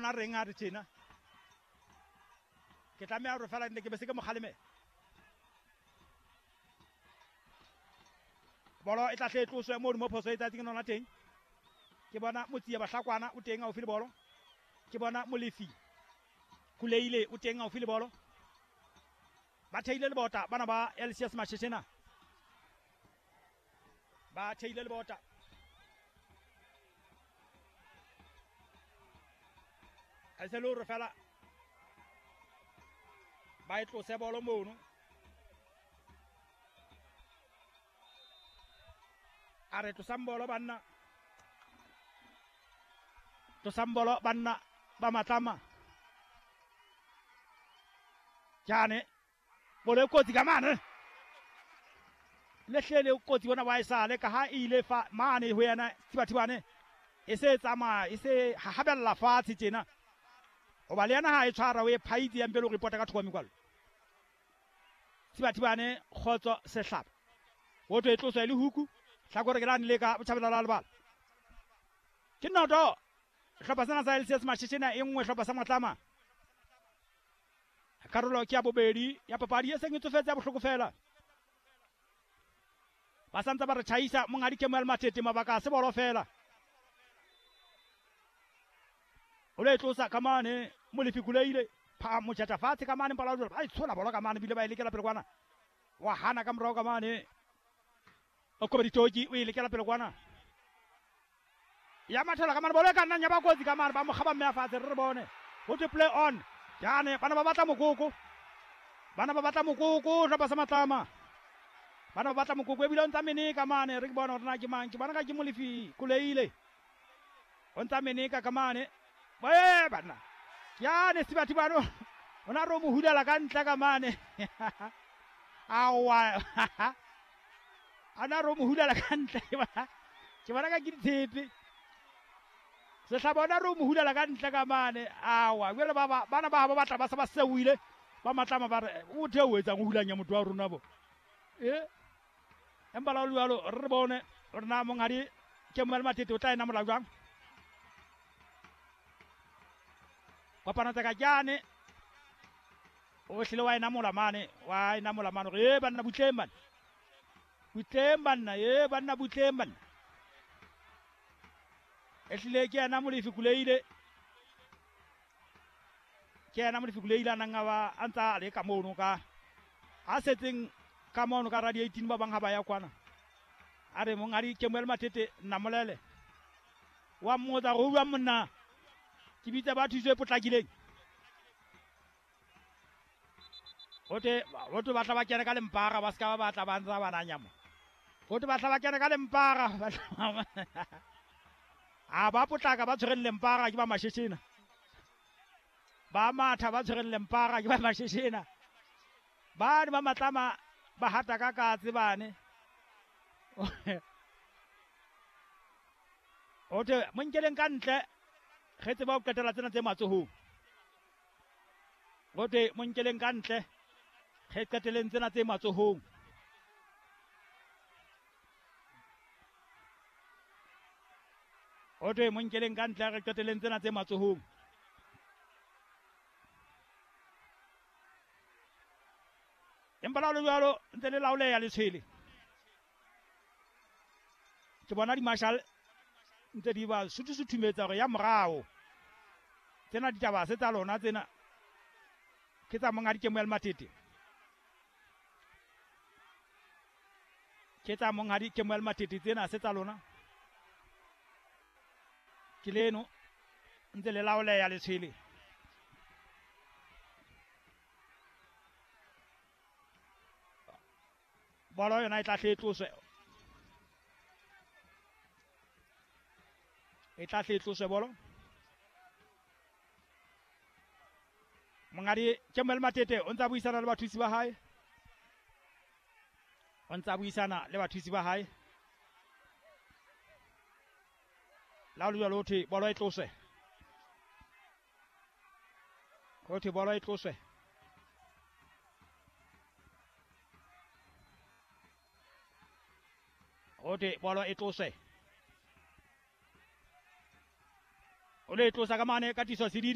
na reng a re tjena. Ke tlameha hore fela nne ke be se ke mo kgaleme. Bolo e tla hle e tloswe mono mo phoso e tsatseng nona teng. Ke bona Motsia Bahlakwana o teng haufi le bolo. Ke bona Molefi Kuleile o teng haufi le bolo. Ba theile lebota bana ba LCS Masheshena. Ba theile lebota. A se le hore fela ba e tlose bolo mono. A re tlosang bolo banna. Tlosang bolo banna ba Matlama. Jane bolo e kotsi ka mane. Le hlele kotsi bona wa esale ka ha e ile fa mane ho yena Thibathibane. E se tsamaya e se hahabella fatshe tjena. Hoba le yena ha e tshwara o e phaitse ya mpele o repota ka thoko mekwalo. Thibathibane Kgotso Sehlaba. Ho thwe e tloswa e le huku. Hlakore ke lane le ka botjhabela la lebala. Ke noto. Hlopha sena sa LCS Masheshena e nngwe hlopha sa Matlama. Karolo ke ya bobedi ya papadi e seng e tsofetse ya bohloko fela. Ba santse ba re tjhaisa monghadi Kemuel Matete mabaka a se bolo fela. O le tlosa ka mane Molefi Kuleile pha motjata fatshe ka mane mpala ba e tshola bolo ka mane bile ba e lekela pele kwana. Wa hana ka morao ka mane. O kobe ditoki o e lekela pele kwana. Ya mathela ka mane bolo e ka nnang ya ba kotsi ka mane ba mo kgaba mme a fatshe re bone. Ho thwe play on. Jane bana ba batla mokoko. Bana ba batla mokoko hlopha sa Matlama. Bana ba batla mokoko ebile o ntsa meneka mane re ke bona hore na ke mang. Ke bona ka ke Molefi Kuleile. O ntsa meneka ka mane. Ee banna. Jane Thibathibane o na re o mo hulela ka ntle ka mane. Aowa. A na re o mo hulela ka ntle. Ke bona ka ke ditshepe. Sehlaba ona re o mo hulela ka ntle ka mane. Aowa jwale ba bana ba ba batla ba se ba sewile. Ba Matlama ba re o the o etsang o hulanya motho wa rona bo. Empa la jwalo re bone hore na monghadi Kemuel Matete o tla e namola jwang. Kopano tsa ka jane o hlile wa e namola mane, wa e namola mane hore e banna butleng banna. Butleng banna, e banna butleng banna. E hlile ke yena Molefi Kuleile. Ke yena Molefi Kuleile a nang a ba a ntsa a le ka mono ka a setseng ka mono ka radio 18 ba bang ha ba ya kwana. A re monghadi Kemuel Matete namolele. Wa mmotsa hore o bua monna. Ke bitsa ba thuso e potlakileng. Hote hote ba tla ba kene ka lempara ba ska ba batla ba ntsa ba nanya mo. Hote ba tla ba kene ka lempara. A ba potlaka ba tshwereng lempara ke ba Masheshena. Ba matha ba tshwereng lempara ke ba Masheshena. Ba ne ba Matlama ba hata ka katse bane. Hote mo nkeleng ka ntle re tseba ho qetela tsena tse matsohong. Hote mo nkeleng ka ntle re qeteleng tsena tse matsohong. Hote mo nkeleng ka ntle re qeteleng tsena tse matsohong. Empa la le jwalo ntse le laoleya letshwele. Ke bona di-marshal ntse di ba suthisuthumetsa hore ya morao. Tsena ditaba se tsa lona tsena ke tsa monghadi Kemuel Matete. Ke tsa monghadi Kemuel Matete tsena se tsa lona. Ke leno ntse le laoleya letshwele. Bolo yona e tla hle e tloswe. E tla hle e tloswe bolo. Monghadi Kemuel Matete o ntsa buisana le bathusi ba hae. O ntsa buisana le bathusi ba hae. La jwalo ho thwe bolo e tloswe. Ho thwe bolo e tloswe. Ho thwe bolo e tloswe. O le tlosa ka mane ka tiso sedidi.